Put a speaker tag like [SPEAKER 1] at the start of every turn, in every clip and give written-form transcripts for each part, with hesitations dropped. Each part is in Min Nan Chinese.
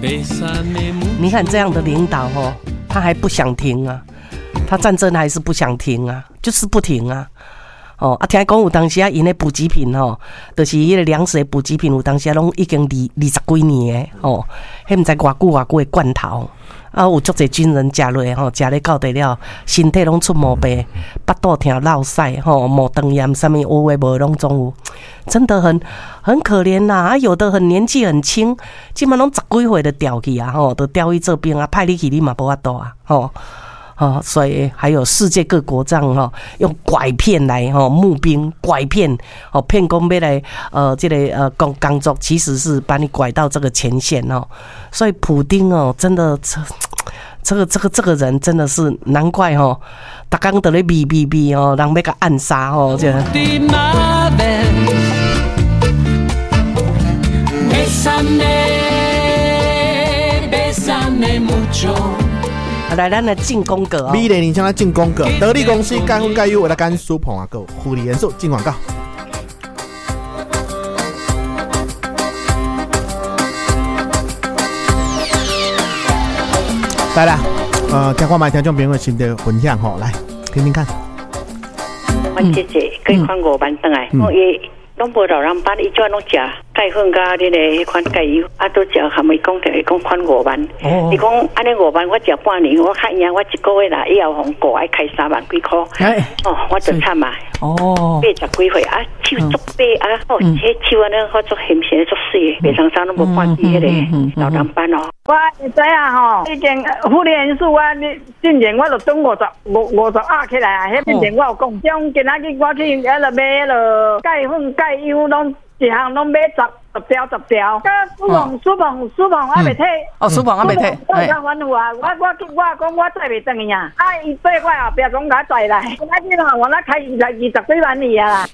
[SPEAKER 1] 你看這樣的領導吼，他還不想停啊，他戰爭還是不想停啊，就是不停啊。哦，啊，聽講有當時啊，𪜶的補給品吼，就是彼個糧食的補給品，有當時啊，攏已經二十幾年的吼，彼毋知偌久偌久的罐頭，啊，有足濟軍人食落吼，食咧到底了，身體攏出毛病，腹肚疼、落屎吼，毛腸炎，啥物有的無的攏總有，真的很可憐吶！啊，有的很年紀很輕，這馬攏十幾歲就調去啊，吼，就調去做兵啊，派你去你嘛無法度啊，吼。哦，所以還有世界各國這樣吼，用拐騙來吼募兵，拐騙哦騙講欲來這個工作，其實是把你拐到這個前線哦。所以普丁哦，真的這個人真的是難怪吼，逐工佇咧秘秘秘哦，人欲共暗殺吼，這。來，咱來進廣告哦。
[SPEAKER 2] 美麗人生來進廣告，得力公司蓋粉蓋優，為了干蘇鵬啊，閣護理元素進廣告。來啦，聽看覓聽眾朋友心得分享吼，來聽聽看。
[SPEAKER 3] 我姐姐計款五萬轉來，我伊攏無老人班，伊怎攏食鈣粉佮恁的彼款鈣油，啊，都食含伊講著，伊講款五萬。伊講按呢五萬，我食半年，我較贏，我一個月啦，以後予顧愛開3萬幾箍。哦，我就慘啊！哦，80幾歲啊，手足白啊，哦，這手按呢，我足纖細足媠的，袂通啥攏無半支彼個老人斑哦。
[SPEAKER 4] 我會知影吼，已經婦女因素我進前我就轉50五十盒起來啊，彼進前我有講，像今仔日我去彼落買彼落鈣粉鈣油，攏一項攏買十條十條。啊，蘇鵬蘇鵬蘇鵬還袂退。
[SPEAKER 5] 哦，蘇鵬還袂退。
[SPEAKER 4] 我較反覆啊，我講我載袂轉去啊，啊，伊對我後壁講共載來，今仔日吼，我那開20幾萬去啊。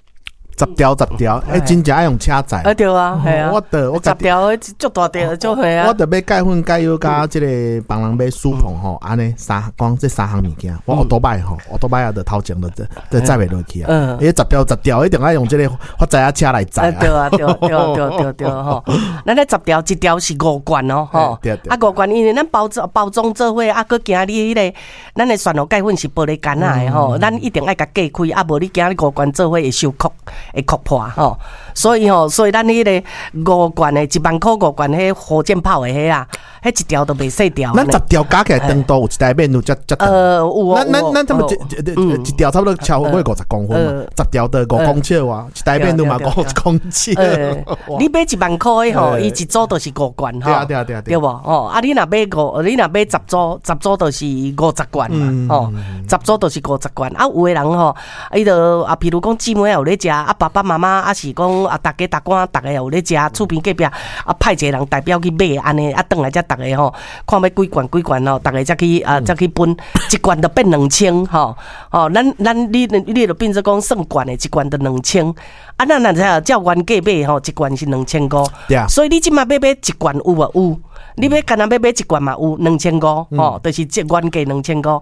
[SPEAKER 2] 十條十條，欸，真正愛用車載。
[SPEAKER 1] 啊對啊，係啊。
[SPEAKER 2] 我著我
[SPEAKER 1] 十條足大條，足係啊。
[SPEAKER 2] 我著買鈣粉、鈣油佮這個幫人買舒鵬吼，按呢三講這三項物件，我歐多擺吼，歐多擺啊，著頭前著著載袂落去啊。嗯。欸，十條十條一定愛用這個發財仔車來載啊。
[SPEAKER 1] 對啊，對對對對對吼。咱咧十條一條是五罐哦，吼。啊，五罐，因為咱包裝做伙，啊，閣驚你彼個，咱的蒜頭鈣粉是玻璃罐仔的吼，咱一定愛共隔開，啊，無你驚你五罐做伙會收殼。會殼破吼，所以吼，所以咱彼個五罐的1萬箍五罐，彼火箭炮的彼啊，彼一條都袂細條。
[SPEAKER 2] 咱十條加起來長度有一台免有遮遮長。
[SPEAKER 1] 有哦。
[SPEAKER 2] 咱咱差不多一條差不多超過50公分嘛，十條就5公尺哇，一台免有嘛5公尺。
[SPEAKER 1] 你買1萬箍的吼，伊一組就是五罐吼。
[SPEAKER 2] 對啊對啊對啊。
[SPEAKER 1] 對無吼，啊你若買五，你若買十組，十組就是50罐嘛，吼，十組就是50罐。啊，有的人吼，伊就啊，譬如講姊妹有咧食，啊爸爸媽媽啊是講啊，逐家逐官逐个有咧食，厝邊隔壁啊派一個人代表去買，按呢啊轉來才逐个吼，看欲幾罐幾罐吼，逐个才去啊才去分，一罐就變2000吼，哦，咱你就變做講算罐的，一罐就兩千，啊咱若照原價買吼，一罐是2500，所以你這馬欲買一罐有無有？你欲干焦欲買一罐嘛有2500吼，就是這原價2500，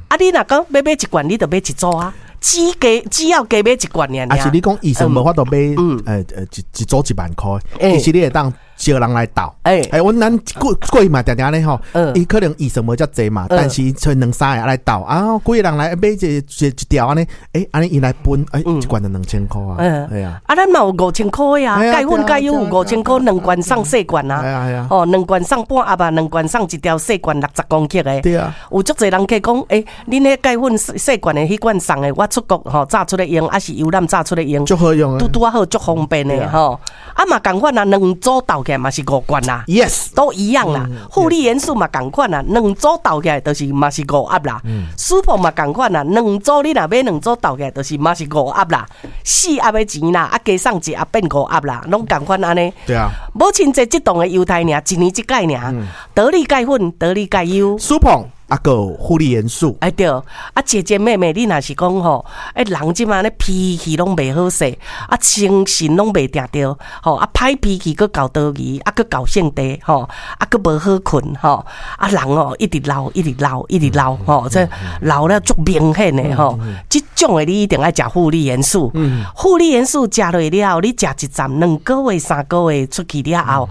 [SPEAKER 1] 啊你若講欲買一罐，你就買一組啊。只要加買一罐爾。
[SPEAKER 2] 啊是你講醫生無法度買，一組1萬箍，其實你會當招人來鬥。欸，阮咱過去嘛定定按呢吼，伊可能預算無遮濟嘛，但是揣兩三個來鬥，啊，幾個人來買一條按呢，欸，按呢伊來分，欸，一罐就2000箍啊。係啊。
[SPEAKER 1] 啊，咱嘛有5000箍的啊，鈣粉鈣油有5000箍，兩罐送細罐啊。哦，兩罐送半盒啊，兩罐送一條細罐60公克的。
[SPEAKER 2] 對啊。
[SPEAKER 1] 有足濟人客講，欸，恁彼鈣粉細罐的彼罐送的，我出國吼早出來用，抑是遊覽早出來用，
[SPEAKER 2] 足好用，
[SPEAKER 1] 拄拄仔好，足方便的吼。啊嘛仝款啊，兩組鬥起來嘛是五罐啦
[SPEAKER 2] ，Yes，
[SPEAKER 1] 都一樣啦。護理元素嘛仝款啦，兩組鬥起來就是嘛是五盒啦。舒鵬嘛仝款啦，兩組你若買兩組鬥起來就是嘛是五盒啦，四盒的錢啦，啊加送一盒變五盒啦，攏仝款按呢。
[SPEAKER 2] 對啊。
[SPEAKER 1] 母親節這檔的優待爾，一年一擺爾，得力鈣粉，得力鈣油。
[SPEAKER 2] 舒鵬。啊，閣有護理元素。
[SPEAKER 1] 哎對，啊姐姐妹妹，你若是講吼，哎人這馬咧脾氣攏袂好勢，啊精神攏袂定著，吼啊歹脾氣，閣厚道義，啊閣厚性地，吼啊閣無好睏，吼啊人哦一直老，一直老，一直老，吼這老了足明顯的吼，這種的你一定愛食護理元素。護理元素食落了後，你食一站2個月、3個月出去了後，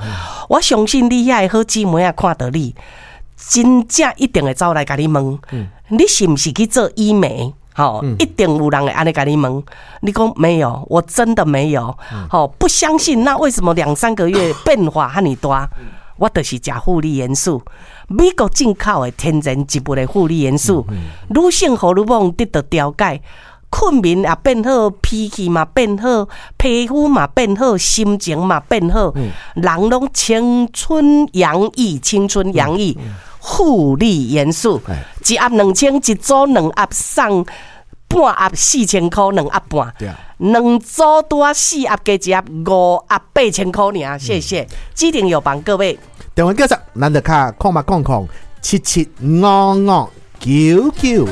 [SPEAKER 1] 我相信你遐个好姊妹仔看著你，真正一定會走來共你問，你是毋是去做醫美？吼，一定有人會按呢共你問。你講沒有，我真的沒有。吼，不相信，那為什麼兩三個月變化遐爾大？我就是食護理元素，美國進口的天然植物的護理元素，女性荷爾蒙得到調解。睏眠也變好，脾氣嘛變好，皮膚嘛變好，心情嘛變好，人攏青春洋溢，青春洋溢。護理元素，一盒2000，一組兩盒送半盒4000塊，2盒半。兩組拄仔四盒加一盒五盒8000塊爾，謝謝。指定有幫各位。
[SPEAKER 2] 電話繼續，咱就敲0800775599。